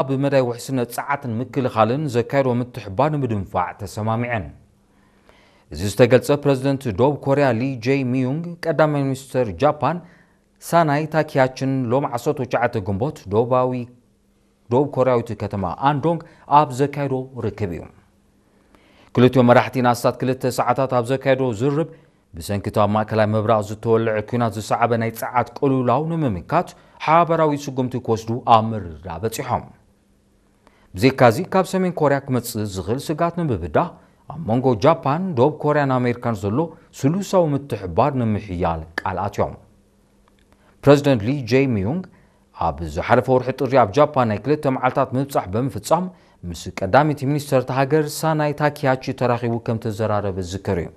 ኣብ መዳይ ውሕስነት ጸዓትን ምክልኻልን ዘካየዶ ምትሕባር ንምድንፋዕ ተሰማሚዐን። እዚ ዝተገልጸ ፕረዚደንት ደቡብ ኮርያ ሊ ጄ ሚዩንግ ቀዳማይ ሚኒስተር ጃፓን ሳናይ ታኪያችን ሎም ዓሰርተ ትሽዓተ ግንቦት ደቡባዊ ደቡብ ኮርያዊት ከተማ ኣንዶንግ ኣብ ዘካየዶ ርክብ እዩ። ክልቲኦም መራሕቲ ንኣስታት ክልተ ሰዓታት ኣብ ዘካየዶ ዝርብ ብሰንኪ እቲ ኣብ ማእከላይ ምብራቕ ዝተወልዐ ኲናት ዝሰዓበ ናይ ጸዓት ቅልውላው ንምምካት ሓበራዊ ስጉምቲ ክወስዱ ኣብ ምርድዳእ በጺሖም። ብዘይካዚ ካብ ሰሜን ኮርያ ክመጽእ ዝኽእል ስጋት ንምብዳህ ኣብ መንጎ ጃፓን፣ ደቡብ ኮርያን ኣሜሪካን ዘሎ ስሉሳዊ ምትሕባር ንምሕያል ቃል ኣትዮም። ፕረዚደንት ሊ ጄ ሚዩንግ ኣብ ዝሓለፈ ወርሒ ጥሪ ኣብ ጃፓን ናይ ክልተ መዓልታት ምብጻሕ ብምፍጻም ምስ ቀዳመይቲ ሚኒስተር እታ ሃገር ሳናይ ታኪያቺ ተራኺቡ ከም ተዘራረበ ዝዝከር እዩ።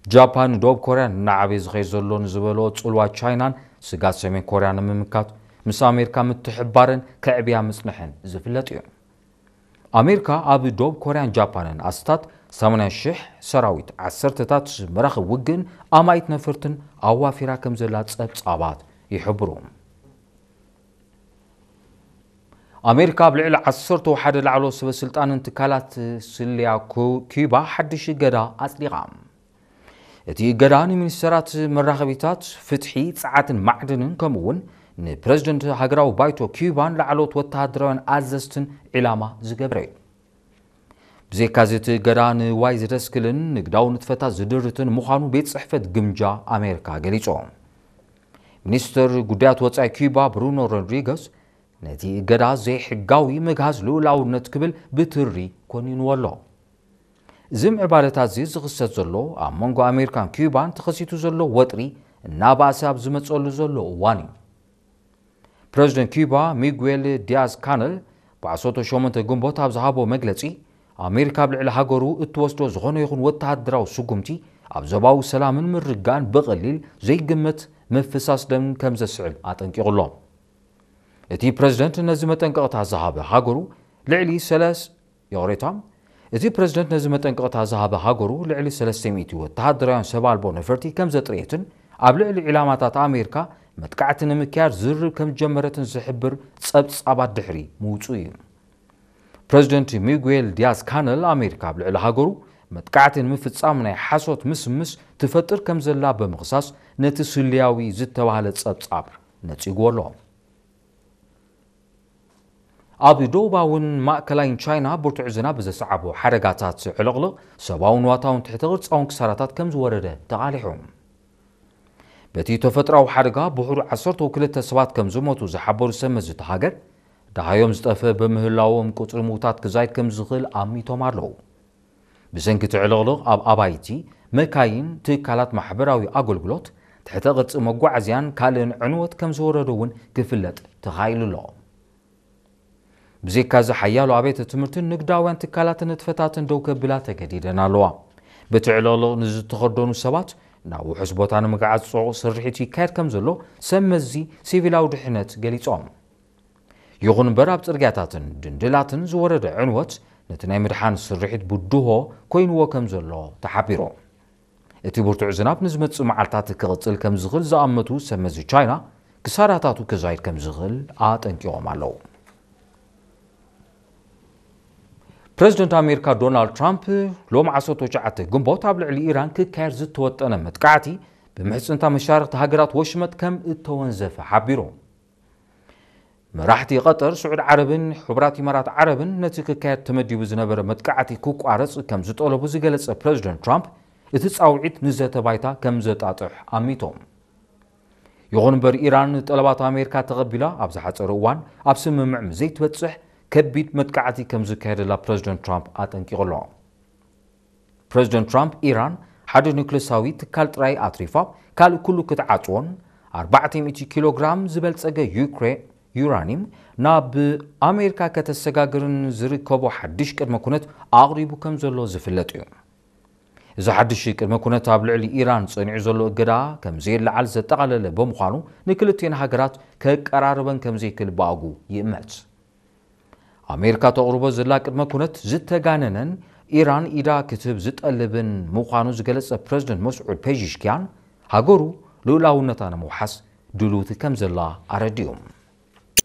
ጃፓን ንደቡብ ኮርያ እናዓበየ ዝኸይድ ዘሎ ንዝበሎ ጽልዋ ቻይናን ስጋት ሰሜን ኮርያ ንምምካት ምስ ኣሜሪካ ምትሕባረን ከዕብያ ምጽንሐን ዝፍለጥ እዩ። ኣሜሪካ ኣብ ደቡብ ኮርያን ጃፓንን ኣስታት ሰማንያ ሽሕ ሰራዊት፣ ዓሰርተታት መራኽብ ውግእን ኣማኢት ነፈርትን ኣዋፊራ ከም ዘላ ጸብጻባት ይሕብሩ። ኣሜሪካ ኣብ ልዕሊ ዓሰርተ ሓደ ላዕሎ ሰበ ስልጣንን ትካላት ስልያ ኩ- ኪዩባ ሓድሽ እገዳ ኣጽዲቓ። እቲ እገዳ ንሚኒስተራት መራኸቢታት፣ ፍትሒ፣ ጸዓትን ማዕድንን ከምኡ እውን ንፕረዚደንት ሃገራዊ ባይቶ ኪዩባን ላዕለዎት ወተሃደራውያን ኣዘዝትን ዒላማ ዝገብረ እዩ። ብዘይካዚ እቲ እገዳ ንዋይ ዝደስክልን ንግዳዊ ንጥፈታት ዝድርትን ምዃኑ ቤት ጽሕፈት ግምጃ ኣሜሪካ ገሊጹ። ሚኒስትር ጉዳያት ወጻኢ ኪዩባ ብሩኖ ሮድሪገስ ነቲ እገዳ ዘይሕጋዊ ምግሃስ ልኡላውነት ክብል ብትሪ ኮኒንዎ ኣሎ። እዚ ምዕባለታት እዚ ዝኽሰት ዘሎ ኣብ መንጎ ኣሜሪካን ኪዩባን ተኸሲቱ ዘሎ ወጥሪ እናባእሰ ኣብ ዝመጸሉ ዘሎ እዋን እዩ። ፕረዚደንት ኪዩባ ሚጉዌል ዲያዝ ካነል ብዓሰርተ ሸሞንተ ግንቦት ኣብ ዝሃቦ መግለጺ፣ ኣሜሪካ ኣብ ልዕሊ ሃገሩ እትወስዶ ዝኾነ ይኹን ወተሃደራዊ ስጉምቲ ኣብ ዞባዊ ሰላምን ምርግጋእን ብቐሊል ዘይግመት ምፍሳስ ደም ከም ዘስዕብ ኣጠንቂቑ ኣሎ። እቲ ፕረዚደንት ነዚ መጠንቀቕታ ዝሃበ ሃገሩ ልዕሊ ሰለስ ይቕሬታ፣ እቲ ፕረዚደንት ነዚ መጠንቀቕታ ዝሃበ ሃገሩ ልዕሊ ሰለስተ ሚእቲ ወተሃደራውያን ሰብ ኣልቦ ነፈርቲ ከም ዘጥረየትን ኣብ ልዕሊ ዒላማታት ኣሜሪካ መጥቃዕቲ ንምክያድ ዝርርብ ከም ዝጀመረትን ዝሕብር ጸብጻባት ድሕሪ ምውጹ እዩ። ፕረዚደንት ሚጉዌል ዲያዝ ካነል ኣሜሪካ ኣብ ልዕሊ ሃገሩ መጥቃዕቲ ንምፍጻም ናይ ሓሶት ምስምስ ትፈጥር ከም ዘላ ብምኽሳስ ነቲ ስልያዊ ዝተባህለ ጸብጻብ ነጺግዎ ኣሎ። ኣብ ደቡባውን ማእከላይን ቻይና ብርቱዕ ዝናብ ብዘስዓቦ ሓደጋታት ዕልቕልቕ ሰብኣውን ንዋታውን ትሕተ ቅርጻውን ክሳራታት ከም ዝወረደ ተቓሊሑ። በቲ ተፈጥሮኣዊ ሓደጋ ብሕሩ ዓሰርተ ክልተ ሰባት ከም ዝሞቱ ዝሓበሩ ሰብ መዚ እታ ሃገር፣ ደሃዮም ዝጠፍአ ብምህላዎም ቁጽሪ ምዉታት ክዛይድ ከም ዝኽእል ኣሚቶም ኣለዉ። ብሰንኪ እቲ ዕልቕልቕ ኣብ ኣባይቲ፣ መካይን፣ ትካላት ማሕበራዊ ኣገልግሎት፣ ትሕተ ቅርጺ መጓዓዝያን ካልእን ዕንወት ከም ዝወረደ እውን ክፍለጥ ተኻኢሉ ኣሎ። ብዘይካዚ ሓያሎ ኣብያተ ትምህርትን ንግዳውያን ትካላትን ንጥፈታትን ደው ከብላ ተገዲደን ኣለዋ። በቲ ዕልቕልቕ ንዝተኸርደኑ ሰባት ናብ ውሑስ ቦታ ንምግዓዝ ጽዑቕ ስርሒት ይካየድ ከም ዘሎ ሰብ መዚ ሲቪላዊ ድሕነት ገሊጾም። ይኹን እምበር ኣብ ጽርግያታትን ድንድላትን ዝወረደ ዕንወት ነቲ ናይ ምድሓን ስርሒት ብድሆ ኮይንዎ ከም ዘሎ ተሓቢሩ። እቲ ብርቱዕ ዝናብ ንዝመጽእ መዓልታት ክቕጽል ከም ዝኽእል ዝኣመቱ ሰብ መዚ ቻይና ክሳራታቱ ክዛይድ ከም ዝኽእል ኣጠንቂቖም ኣለዉ። ፕረዚደንት ኣሜሪካ ዶናልድ ትራምፕ ሎም ዓሰርተ ትሽዓተ ግንቦት ኣብ ልዕሊ ኢራን ክካየድ ዝተወጠነ መጥቃዕቲ ብምሕጽንታ መሻርኽቲ ሃገራት ወሽመጥ ከም እተወንዘፈ ሓቢሩ። መራሕቲ ቀጠር፣ ስዑድ ዓረብን ሕቡራት ኢማራት ዓረብን ነቲ ክካየድ ተመዲቡ ዝነበረ መጥቃዕቲ ክቋረጽ ከም ዝጠለቡ ዝገለጸ ፕረዚደንት ትራምፕ፣ እቲ ጻውዒት ንዘተ ባይታ ከም ዘጣጥሕ ኣሚቶም። ይኹን እምበር፣ ኢራን ጠለባት ኣሜሪካ ተቐቢላ ኣብ ዝሓጸረ እዋን ኣብ ስምምዕ ምስ ዘይትበጽሕ፣ ከቢድ መጥቃዕቲ ከም ዝካየደላ ፕረዚደንት ትራምፕ ኣጠንቂቑ ኣሎ። ፕረዚደንት ትራምፕ፣ ኢራን ሓደ ኒውክለሳዊ ትካል ጥራይ ኣትሪፋ ካልእ ኩሉ ክትዓጽዎን ኣርባዕተ ሚእቲ ኪሎ ግራም ዝበልጸገ ዩክሬ ዩራኒየም ናብ ኣሜሪካ ከተሰጋግርን ዝርከቦ ሓድሽ ቅድመ ኩነት ኣቕሪቡ ከም ዘሎ ዝፍለጥ እዩ። እዚ ሓድሽ ቅድመ ኩነት ኣብ ልዕሊ ኢራን ጸኒዑ ዘሎ እገዳ ከም ዘየለዓል ዘጠቓለለ ብምዃኑ፣ ንክልቲኤን ሃገራት ከቀራርበን ከም ዘይክእል ብኣጉ ይእመት። ኣሜሪካ ተቕርቦ ዘላ ቅድመ ኩነት ዝተጋነነን ኢራን ኢዳ ክትህብ ዝጠልብን ምዃኑ ዝገለጸ ፕረዚደንት መስዑድ ፔዚሽኪያን፣ ሃገሩ ልኡላውነታ ንምውሓስ ድልውቲ ከም ዘላ ኣረዲኡ።